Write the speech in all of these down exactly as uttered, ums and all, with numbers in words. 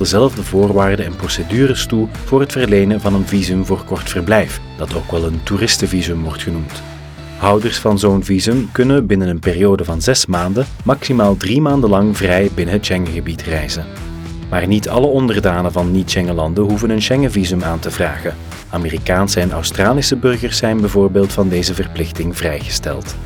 Dezelfde voorwaarden en procedures toe voor het verlenen van een visum voor kort verblijf, dat ook wel een toeristenvisum wordt genoemd. Houders van zo'n visum kunnen binnen een periode van zes maanden maximaal drie maanden lang vrij binnen het Schengengebied reizen. Maar niet alle onderdanen van niet-Schengenlanden hoeven een Schengenvisum aan te vragen. Amerikaanse en Australische burgers zijn bijvoorbeeld van deze verplichting vrijgesteld.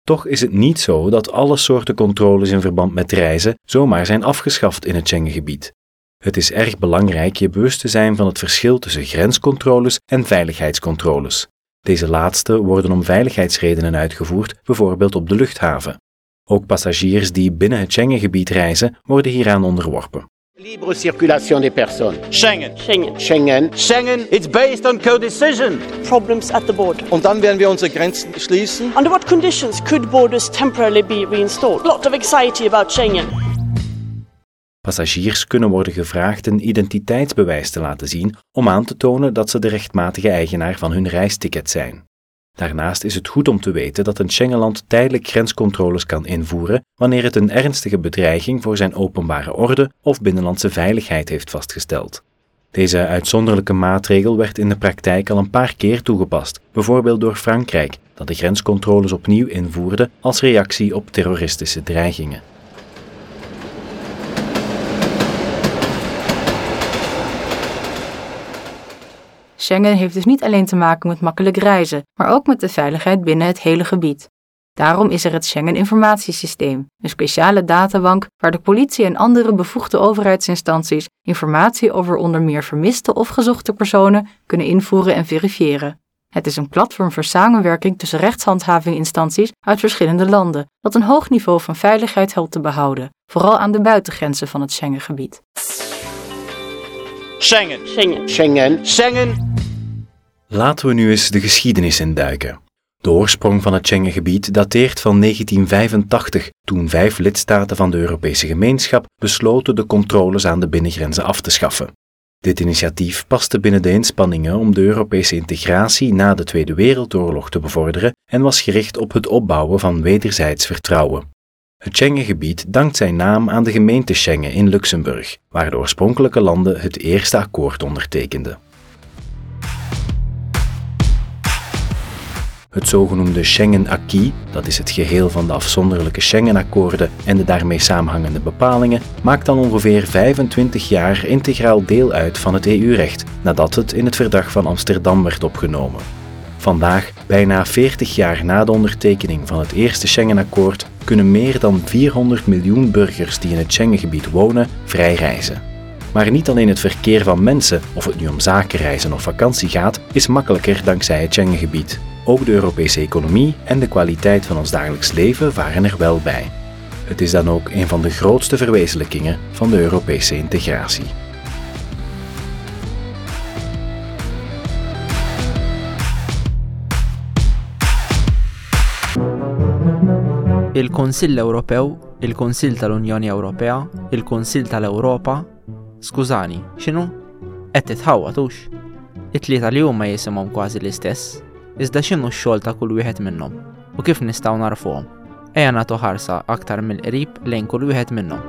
Toch is het niet zo dat alle soorten controles in verband met reizen zomaar zijn afgeschaft in het Schengengebied. Het is erg belangrijk je bewust te zijn van het verschil tussen grenscontroles en veiligheidscontroles. Deze laatste worden om veiligheidsredenen uitgevoerd, bijvoorbeeld op de luchthaven. Ook passagiers die binnen het Schengengebied reizen, worden hieraan onderworpen. Libre circulation des personnes. Schengen. Schengen. Schengen. Schengen, it's based on co-decision. Problems at the border. Und dann werden wir unsere Grenzen schließen. Under what conditions could borders temporarily be reinstalled? Lot of anxiety about Schengen. Passagiers kunnen worden gevraagd een identiteitsbewijs te laten zien om aan te tonen dat ze de rechtmatige eigenaar van hun reisticket zijn. Daarnaast is het goed om te weten dat een Schengenland tijdelijk grenscontroles kan invoeren wanneer het een ernstige bedreiging voor zijn openbare orde of binnenlandse veiligheid heeft vastgesteld. Deze uitzonderlijke maatregel werd in de praktijk al een paar keer toegepast, bijvoorbeeld door Frankrijk, dat de grenscontroles opnieuw invoerde als reactie op terroristische dreigingen. Schengen heeft dus niet alleen te maken met makkelijk reizen, maar ook met de veiligheid binnen het hele gebied. Daarom is er het Schengen-informatiesysteem, een speciale databank waar de politie en andere bevoegde overheidsinstanties informatie over onder meer vermiste of gezochte personen kunnen invoeren en verifiëren. Het is een platform voor samenwerking tussen rechtshandhavinginstanties uit verschillende landen, dat een hoog niveau van veiligheid helpt te behouden, vooral aan de buitengrenzen van het Schengengebied. Schengen. Schengen. Schengen. Schengen. Laten we nu eens de geschiedenis induiken. De oorsprong van het Schengengebied dateert van negentien vijfentachtig, toen vijf lidstaten van de Europese Gemeenschap besloten de controles aan de binnengrenzen af te schaffen. Dit initiatief paste binnen de inspanningen om de Europese integratie na de Tweede Wereldoorlog te bevorderen en was gericht op het opbouwen van wederzijds vertrouwen. Het Schengengebied dankt zijn naam aan de gemeente Schengen in Luxemburg, waar de oorspronkelijke landen het eerste akkoord ondertekenden. Het zogenoemde Schengen-acquis, dat is het geheel van de afzonderlijke Schengen-akkoorden en de daarmee samenhangende bepalingen, maakt dan ongeveer vijfentwintig jaar integraal deel uit van het E U-recht, nadat het in het Verdrag van Amsterdam werd opgenomen. Vandaag, bijna veertig jaar na de ondertekening van het eerste Schengen-akkoord, kunnen meer dan vierhonderd miljoen burgers die in het Schengengebied wonen, vrij reizen. Maar niet alleen het verkeer van mensen, of het nu om zakenreizen of vakantie gaat, is makkelijker dankzij het Schengengebied. Ook de Europese economie en de kwaliteit van ons dagelijks leven varen er wel bij. Het is dan ook een van de grootste verwezenlijkingen van de Europese integratie. Il-Kunsill Ewropew, il-Kunsill tal-Unjoni Ewropea, il-Kunsill tal-Ewropa. Skużani, x'inhu? Qed titħawwad hux? It-tlieta li huma jisimhom kważi l-istess, iżda x'inhu x-xogħol ta' kull wieħed minnhom u kif nistgħu narfuhom? Ejja nagħtu ħarsa aktar mill-qrib lejn kull wieħed minnhom.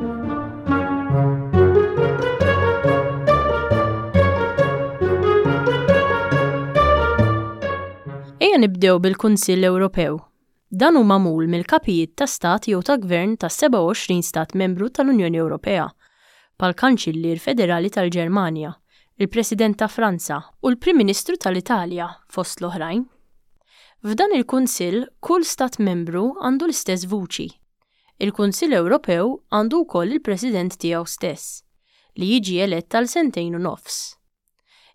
Ejja nibdew bil-Kunsill Ewropew. Dan hu magħmul mill-kapijiet ta' stat jew ta' gvern ta' sebgħa u għoxrin stat membru tal-Unjoni Ewropea, bħall-Kanċillier Federali tal-Ġermanja, il-President ta' Franza u l-Prim Ministru tal-Italja fost l-oħrajn. F'dan il-Kunsill, kull stat membru għandu l-istess vuċi. Il-Kunsill Ewropew għandu wkoll il-President tiegħu stess, li jiġi elett għal sentejn u nofs.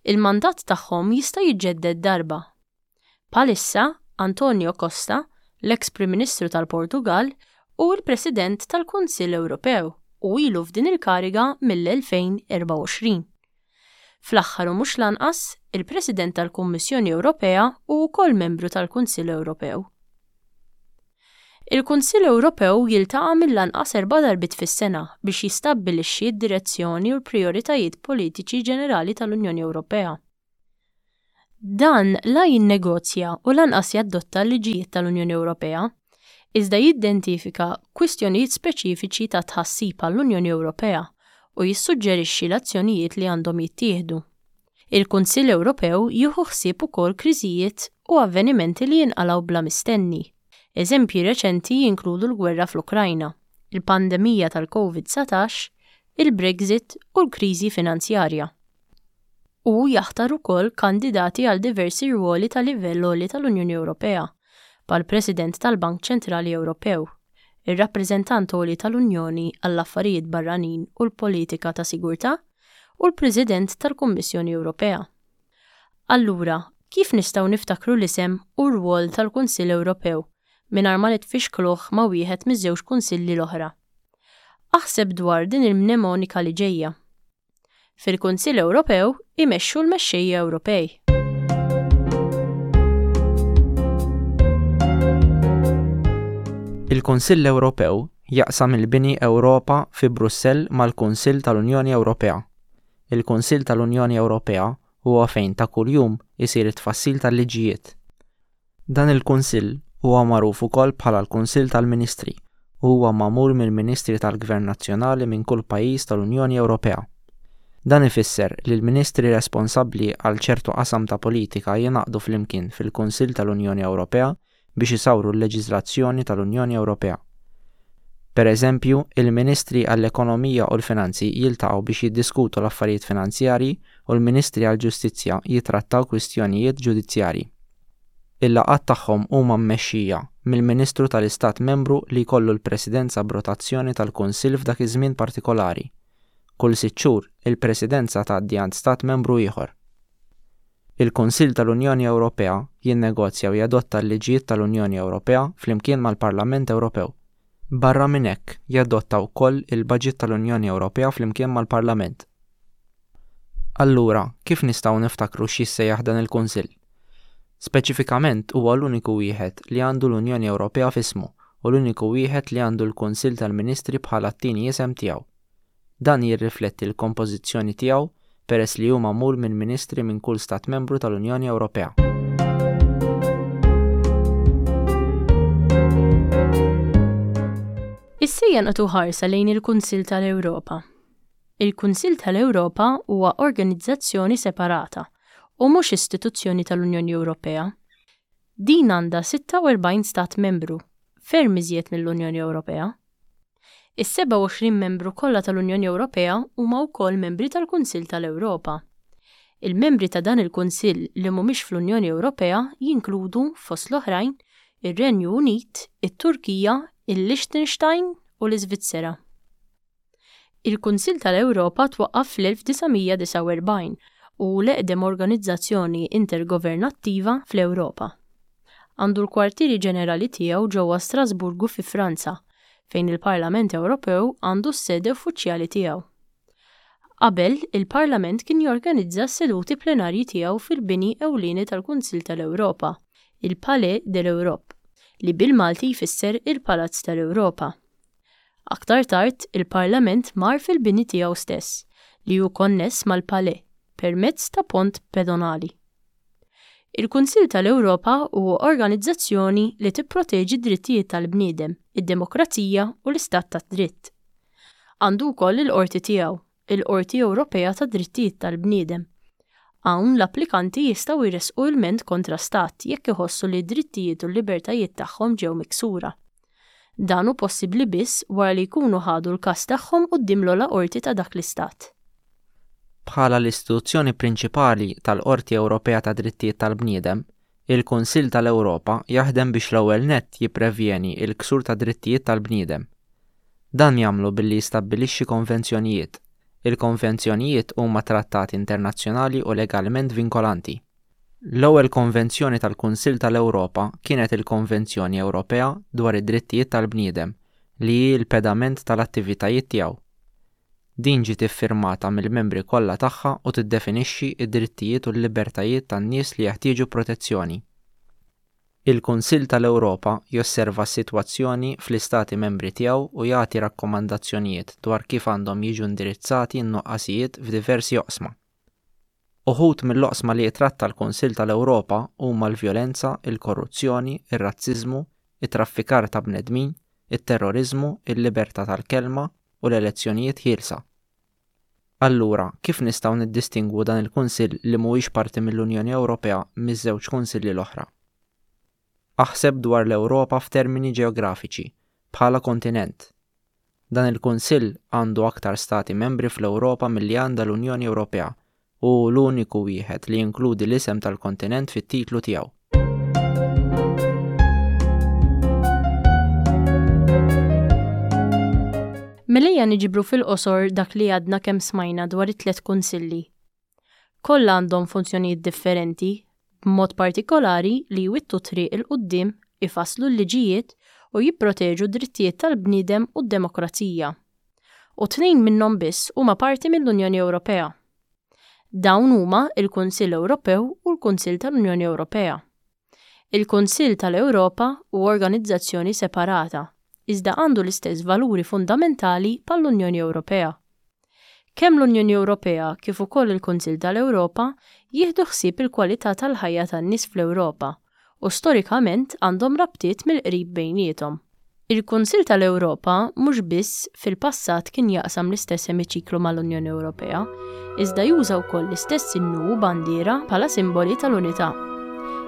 Il-mandat tagħhom jista' jiġġedded darba. Bħalissa, Antonio Costa, l-ex Prim Ministru tal-Portugal, u l-President tal-Kunsill Ewropew u ilu f'din il-kariga mill-elfejn erbgħa u għoxrin. Fl-aħħar u mhux lanqas, il-President tal-Kummissjoni Ewropea u wkoll membru tal-Kunsill Ewropew. Il-Kunsill Ewropew jiltaqa' mill-anqas erba' darbiet fis-sena biex jistabbilixxi d-direzzjoni u l-prijoritajiet politiċi ġenerali tal-Unjoni Ewropea. Dan la jinnegozja u lanqas jadotta l-liġijiet tal-Unjoni Ewropea, iżda jidentifika kwistjonijiet speċifiċi ta' tħassib għall-Unjoni Ewropea u jissuġġerixxi l-azzjonijiet li għandhom jittieħdu. Il-Kunsill Ewropew jieħu ħsieb ukoll kriżijiet u avvenimenti li jinqalgħu bla mistenni. Eżempji reċenti jinkludu l-gwerra fl-Ukrajna, il-pandemija tal-Covid dsatax, il-Brexit u l-kriżi finanzjarja. U jaħtar ukoll kandidati għal diversi rwoli ta' livell għoli tal-Unjoni Ewropea, bħal President tal-Bank Ċentrali Ewropew, ir-rappreżentant għoli tal-Unjoni għall-Affarijiet Barranin u l-Politika ta' Sigurtà u l-President tal-Kummissjoni Ewropea. Allura, kif nistgħu niftakru l-isem u r-rwol tal-Kunsill Ewropew mingħajr ma nitfixkluh ma' wieħed miż-żewġ kunsilli l-oħra? Aħseb dwar din il-mnemonika li ġejja. Fil-Kunsill Ewropew imexxu l-mexxejja Ewropej. Il-Kunsill Ewropew jaqsam il-bini Ewropa fi Brussell mal-Kunsill tal-Unjoni Ewropea. Il-Kunsill tal-Unjoni Ewropea huwa fejn ta' kuljum isir it-tfassil tal-liġijiet. Dan il-Kunsill huwa magħruf ukoll bħala l-Kunsill tal-Ministri u huwa magħmul mill-Ministri tal-Gvern Nazzjonali minn kull pajjiż tal-Unjoni Ewropea. Dan ifisser li l-ministri responsabbli għal ċertu qasam ta' politika jingħaqdu flimkien fil-Kunsill tal-Unjoni Ewropea biex isawru l-leġiżlazzjoni tal-Unjoni Ewropea. Per eżempju, il-Ministri għall-Ekonomija u l-Finanzi jiltaqgħu biex jiddiskutu l-affarijiet finanzjarji u l-Ministri għall-Ġustizzja jitrattaw kwistjonijiet ġudizzjarji. Il-laqgħat tagħhom huma mmexxija mill-Ministru tal-Istat Membru li jkollu l-Presidenza b'rotazzjoni tal-Kunsill f'dak iż-żmien partikolari. Kull sitt xhur, il-Presidenza tgħaddi għand Stat Membru ieħor. Il-Kunsill tal-Unjoni Ewropea jinnegozja u jadotta l-liġijiet tal-Unjoni Ewropea flimkien mal-Parlament Ewropew. Barra minn hekk, jadotta wkoll il-Baġit tal-Unjoni Ewropea flimkien mal-Parlament. Allura, kif nistgħu niftakru x'jissejjaħ dan il-Kunsill? Speċifikament huwa l-uniku wieħed li għandu l-Unjoni Ewropea f'ismu u l-uniku wieħed li għandu l-Kunsill tal-Ministri bħala t-tieni isem tiegħu. Dan jirrifletti l-kompożizzjoni tiegħu peress li hu magħmul minn ministri minn kull stat membru tal-Unjoni Ewropea. Issa nagħtu ħarsa lejn il-Kunsill tal-Ewropa. Il-Kunsill tal-Ewropa huwa organizzazzjoni separata u mhux istituzzjoni tal-Unjoni Ewropea. Din għandha sitta u erbgħin stat membru, ferm iżjed mill-Unjoni Ewropea. Is-sebgħa u għoxrin membru kollha tal-Unjoni Ewropea huma wkoll membri tal-Kunsill tal-Ewropa. Il-membri ta' dan il-Kunsill li mhumiex fl-Unjoni Ewropea jinkludu fost l-oħrajn ir-Renju Unit, it-Turkija, il-Liechtenstein u l-Iżvizzera. Il-Kunsill tal-Ewropa twaqqaf fl-elf disa' mija disgħa u erbgħin u l-eqdem organizzazzjoni intergovernattiva fl-Ewropa. Għandu l-kwartieri ġenerali tiegħu ġewwa Strasburgu fi Franza, fejn il-Parlament Ewropew għandu s-sede uffiċjali tiegħu. Qabel, il-Parlament kien jorganizza s-seduti plenarji tiegħu fil-bini ewlieni tal-Kunsill tal-Ewropa, il-Palais de l'Europe, li bil-Malti jfisser il-Palazz tal-Ewropa. Aktar tard, il-Parlament mar fil-bini tiegħu stess, li hu konness mal-Palais permezz ta' pont pedonali. Il-Kunsill tal-Ewropa huwa organizzazzjoni li tipproteġi d-drittijiet tal-bniedem, id-demokrazija u l-istat tad-dritt. Għandu wkoll il-qorti tiegħu, il-Qorti Ewropea tad-Drittijiet tal-Bniedem. Hawn l-applikanti jistgħu jressqu ilment kontra stat jekk iħossu li d-drittijiet u l-libertajiet tagħhom ġew miksura. Dan hu possibbli biss wara li jkunu ħadu l-każ tagħhom quddiem l-ogħla qorti ta' dak l-istat. Bħala l-istituzzjoni prinċipali tal-Qorti Ewropea ta' Drittijiet tal-Bniedem, il-Kunsill tal-Ewropa jaħdem biex l-ewwel nett jipprevjeni l-ksur ta' drittijiet tal-bniedem. Dan jagħmlu billi jistabbilixxi konvenzjonijiet. Il-konvenzjonijiet huma trattati internazzjonali u legalment vinkolanti. L-ewwel konvenzjoni tal-Kunsill tal-Ewropa kienet il-Konvenzjoni Ewropea dwar id-Drittijiet tal-Bniedem, li hi l-pedament tal-attivitajiet tiegħu. Din ġiet iffirmata mill-membri kollha tagħha u tiddefinixxi d-drittijiet u l-libertajiet tan-nies li jeħtieġu protezzjoni. Il-Kunsill tal-Ewropa josserva s-sitwazzjoni fl-istati membri tiegħu u jagħti rakkomandazzjonijiet dwar kif għandhom jiġu indirizzati n-nuqqasijiet f'diversi oqsma. Uħud mill-oqsma li jitratta l-Kunsill tal-Ewropa huma l-vjolenza, il-korruzzjoni, ir-razziżmu, it-traffikar ta' bnedmin, it-terroriżmu, il-libertà tal-kelma u l-elezzjonijiet ħielsa. Allura, kif nistgħu niddistingwu dan il-Kunsill li mhuwiex parti mill-Unjoni Ewropea miż-żewġ kunsilli l-oħra? Aħseb dwar l-Ewropa f'termini ġeografiċi, bħala kontinent. Dan il-Kunsill għandu aktar stati membri fl-Ewropa milli għandha l-Unjoni Ewropea u hu l-uniku wieħed li jinkludi l-isem tal-kontinent fit-titlu tiegħu. Mela ejja niġbru fil-qosor dak li għadna kemm smajna dwar it-tliet kunsilli. Kollha għandhom funzjonijiet differenti, b'mod partikolari li jwittu triq 'il quddiem, ifasslu l-liġijiet u jipproteġu d-drittijiet tal-bniedem u d-demokrazija. U tnejn minnhom biss huma parti mill-Unjoni Ewropea. Dawn huma il-Kunsill Ewropew u l-Kunsill tal-Unjoni Ewropea. Il-Kunsill tal-Ewropa hu organizzazzjoni separata, iżda għandu l-istess valuri fundamentali bħall-Unjoni Ewropea. Kemm l-Unjoni Ewropea kif ukoll il-Kunsill tal-Ewropa jieħdu ħsieb il-kwalità tal-ħajja tan-nies fl-Ewropa u storikament għandhom rabtiet mill-qrib bejniethom. Il-Kunsill tal-Ewropa mhux biss fil-passat kien jaqsam l-istess emiċiklu mal-Unjoni Ewropea, iżda juża wkoll l-istess innu u bandiera bħala simboli tal-unità.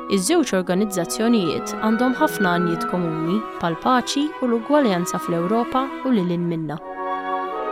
Iż-żewġ organizzazzjonijiet għandhom ħafna għanijiet komuni bħall-paċi u l-ugwaljanza fl-Ewropa u lil hinn minnha.